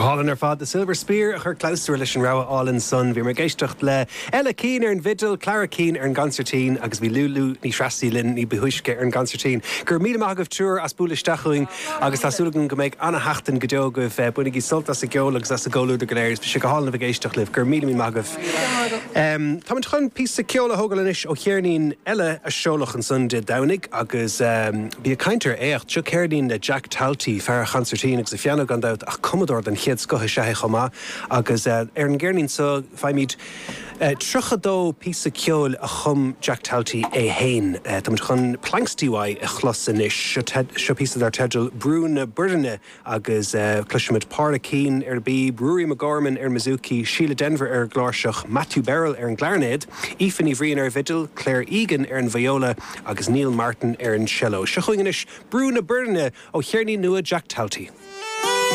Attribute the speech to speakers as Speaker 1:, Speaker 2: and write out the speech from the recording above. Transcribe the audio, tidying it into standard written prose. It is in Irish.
Speaker 1: hálainn ar fad. The Silver Spear a chuir clabhsúr leis an rogha álainn san. Bhíomar ag éisteacht le Ella Keane ar an bhfidil, Clara Keane ar an gconsairtín agus bhí Lúlú Ní Threasaigh linn ní ba thúisce ar an gconsairtín. Go raibh míle maith agaibh triúr as bualadh isteach chugainn agus tá súil agam go mbeidh ana-sheachtain go deo agaibh. Bainigí sult as an gceol agus as an gcomhluadar go léir. Bhí sé go hálainn a bheith ag éisteacht libh. Go raibh míle míle maith agaibh. Táimid chun píosa ceoil a thógáil anois ó cheirnín eile a seoladh ansan Dé Domhnaigh agus bí ag caint ar éacht. Seo ceirnín le Jack Talty, fear an chonsairtín agus an phianó gan dabht ach cumadóir den chéad scoth is ea é chomh maith agus ar an gceirnín seo faighimid 32 píosa ceoil a chum Jack Talty é féin. Táimid chun Planxty uaidh a chlos anois. Seo píosa dar teideal Brú na Boirne. Agus cloisfimid Pádraic Keane ar an bpíb, Ruairí McGorman ar an mbouzouki, Síle Denvir ar an gcláirseach, Matthew Birrell ar an gclairnéad, Aoife Ní Bhriain ar an bhfidil, Claire Egan ar an viola agus Neil Martin ar an cello. Seo chugainn anois Brú na Boirne ó cheirnín nua Jack Talty.